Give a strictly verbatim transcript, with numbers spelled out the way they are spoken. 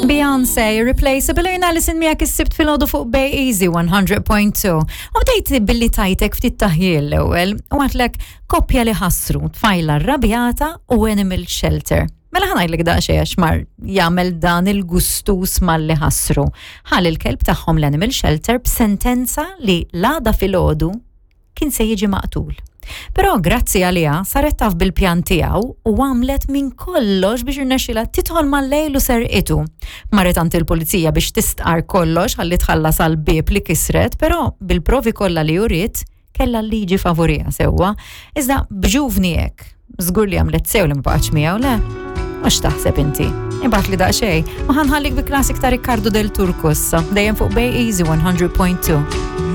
Beyoncé, Irreplaceable, jien Alison miegħek is-Sibt filgħodu fuq Bay Easy one hundred point two. U bdejt billi tajtek ftit taħjil l-ewwel u għedtlek koppja li ħassru, tfajla rrabjata u animal shelter. Mela ħa ngħidlek daqsxejn għax mar jagħmel dan il-gustus malli ħassru. Ħa l-kelb tagħhom l-animal shelter b'sentenza li l-għada filgħodu kien se jiġi maqtul. Però grazzi għaliha saret taf bil-pjan tiegħu u għamlet minn kollox biex irnexxila tidħol mal-lejl u serqitu. Marret għand il-pulizija biex tistqar kollox ħalli tħallas għal bib li kisret, però bil-provi kollha li uriet kella l-liġi favorija sewwa. Iżda b'ġuvni hekk, żgur li għamlet sew li ma baqgħetx miegħu, le? Mhux taħseb inti? Ibgħatli daqsxejn, u ħa nħallik bi classic ta' Riccardo Del Turco issa, dejjem fuq Bay Easy one hundred point two.